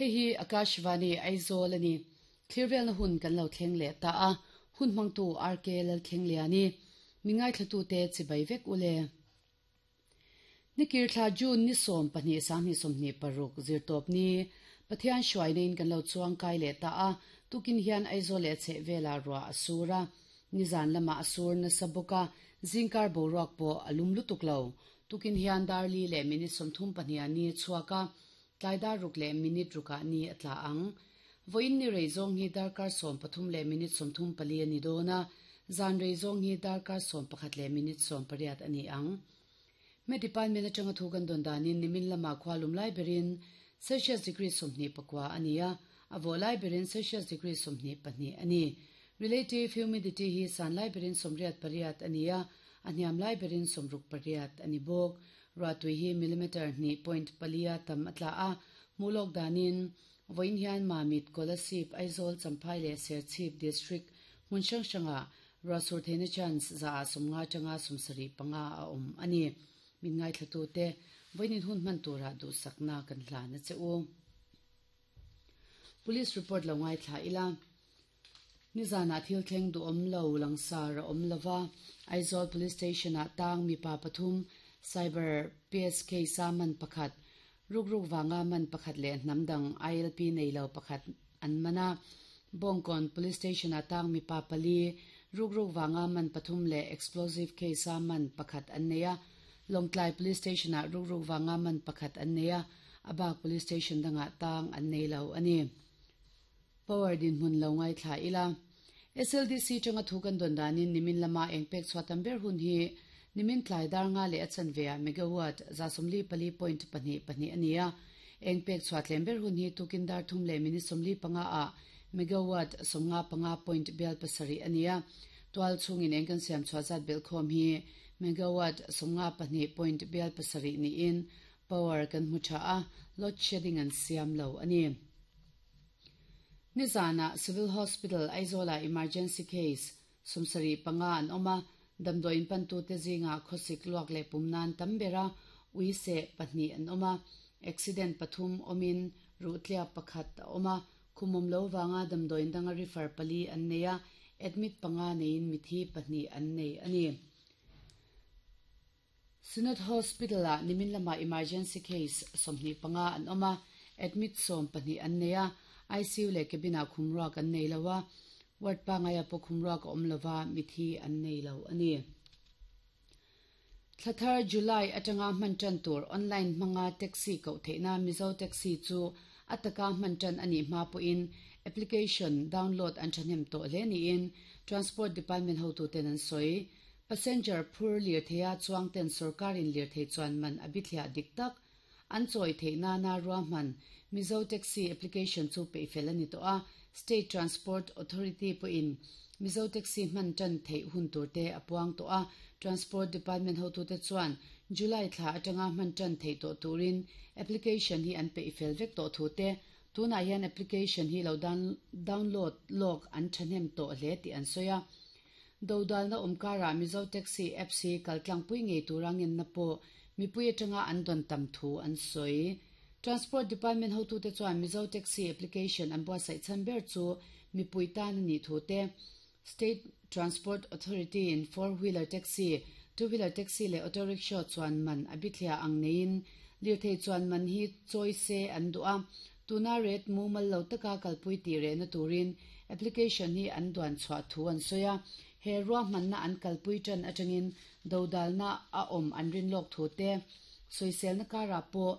Hei hi Akashvani Aizawl a ni. Thlirvelna hun kan lo thleng leh ta a, hun hmangtu RK Lalthlengliani. Mi ngaithlatute chibai vek u le. Nikir thla June ni 12 2026 zirtawp ni Pathian hruaina in kan lo chuang kai leh ta a, tukin hian Aizawl leh a chhehvelah ruah a sur a, nizan lamah a sur nasa bawk a, zingkar boruak pawh a lum lutuk lo. Tukin hian dar li leh minute 32 ah ni a chhuak a, tlai dar ruk leh minute rukah ni a tla ang. Vawiin ni rei zawng hi darkar 13 leh minute 34 a ni dawn a, zan rei zawng hi darkar 11 leh minute 18 a ni ang. Me department atanga thu kan dawn danin nimin lama khua lum lai berin Celsius degree 29 a ni a, a vawh lai berin Celsius degree 22 a ni. Relative humidity hi san lai berin 88 a ni a, a hniam lai berin 68 a ni bawk. Ruahtui hi millimeter 2.4 a tam a tla a, hmuhlawk danin vawiin hian Mamit, Kolasib, Aizawl, Champhai leh Serchhip district hmun hrang hrangah Ruah sur theihna chance za ah 50 atanga 75 a awm a ni. Min ngaithlatute vawiin hun hman turah duhsakna kan hlan a che u. Police report lo ngaithla ila. Nizanah thil thleng duhawm lo langsar a awm lova, Aizawl Police Station ah tang mipa pathum Cyber PSK sa man pakhat, rukruk vanga man pakhat leh hnam dang ILP nei lo pakhat an man a. Bawngkawn Police Station ah tang mipa pali, rukruk vanga man pathum leh explosive case a man pakhat an nei a. Lawngtlai Police Station ah rukruk vanga man pakhat an nei a, a bak Police Station dangah tang an nei lo a ni. Power dinhmun lo ngaithla ila. SLDC tanga thu kan dawn danin nimin lama eng pek chhuah tam ber hun hi nimin tlai dar nga leh a chanve ah megawatt 44.22 a ni a. Eng pek chhuah tlem ber hun hi tukin dar thum leh minute 45 ah megawatt 55.7 a ni a. Tual chhungin eng kan siam chhuah zat belhkhawm hi megawatt 52.7 niin power kan hmu tha a, load shedding an siam lo a ni. Nizanah Civil Hospital Aizawlah emergency case 75 an awm a, damdawiin pantute zingah khawsik luak leh pum nan tam ber a, ui seh pahnih an awm a, accident pathum awmin ruhtliak pakhat a awm a, khumawm lo vanga damdawiin danga refer pali an nei a, admit panga neiin mithi pahnih an nei a ni. Synod Hospital ah nimin lamah emergency case 25 an awm a, admit 12 an nei a, ICU leh cabin ah khumruak an nei lo a, ward pangaia pawh khumruak a awm lova, mithi an nei lo a ni. Thlathar July atanga hman tan tur online hmanga taxi koh theihna Mizo Taxi chu a taka hman tan a nih hma pawhin application download an thahnem tawh hle niin Transport Department hotuten an sawi. Passenger phur lirtheia chuangten sorkarin lirthei chuan man a bithliah dik tak an chawi theih nana ruahman Mizo Taxi application chu peihfel a ni tawh a, State Transport Authority pawhin Mizo Taxi hman tan theih hun turte a puang tawh a, Transport Department hotute chuan July thla atanga hman tan theih tawh turin application hi an peihfel vek tawh thu te, tunah hian application hi lo download lawk an thahnem tawh hle tih an sawi a. Dodalna awm karah Mizo Taxi apps hi kaltlangpui ngei tura ngenna pawh mipui atanga an dawn tam thu an sawi. Transport Department hotute chuan Mizo Taxi application an buatsaih chhan ber chu mipui tan a nih thu te, State Transport Authority in four wheeler taxi, two wheeler taxi leh auto rickshaw chuan man a bithliah ang neiin lirthei chuan man hi chawi se an duh a, tuna rate mumal lo taka kalpui tih rehna turin application hi an duan chhuah thu an sawi a, he ruahmanna an kalpui tan atangin dodalna a awm an rin lawk thu te, sawiselna karah pawh.